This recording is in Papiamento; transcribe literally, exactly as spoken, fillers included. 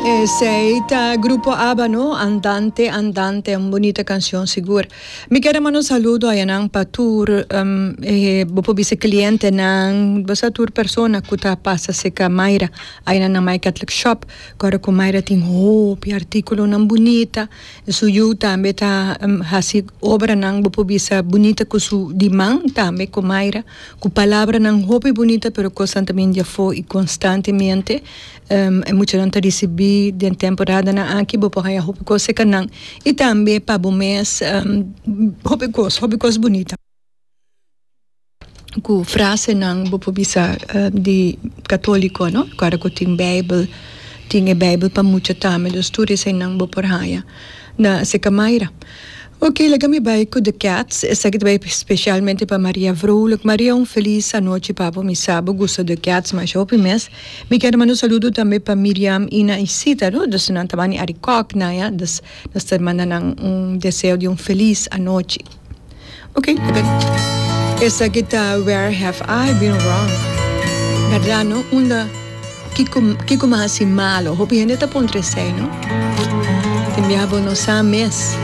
Esey ta Grupo ABBA, no? Andante, Andante, un bunita cancion sigur. Mi kier manda un saludo ayanan pa tur um, eh, bo por bisa clientenan, basta tur persona cu ta pasa serca Mayra, ayanan na My Catholic Shop, awor cu Mayra tin hopi articulonan bunita, su yiu tambe ta um, hasi obranan bo por bisa bunita cu su di man tambe cu Mayra, cu palabranan hopi bunita, pero constantemente afo y constantemente um, e muchanan ta ricibi den temporadanan aki bo por haya hopi cos nan y tambe pa bo mes um, hopi cos hopi cos bunita cu frasenan bo por bisa uh, di catolico, no? Awor cu tin Bijbel, tin e Bijbel pa mucha tambe, dus tur eseynan bo por haya na serca Mayra. Ok, laga mi bay cu The Cats. Esaki ta bay specialmente pa Maria Vrolijk. Maria, un feliz anochi pa bo. Mi sa bo gusta The Cats, mas hopi mes. Mi kier manda un saludo tambe pa Miriam, Ina y Sita, no? Dus nan ta bani Arikok na ya, dus nos ta manda un deseo di un feliz anochi. Ok, esaki ta Where Have I Been Wrong? Berdad, no? Unda kiko kiko m'a hasi malo. Hopi hende ta puntra esey, no? Tin biaha bo no sa mes.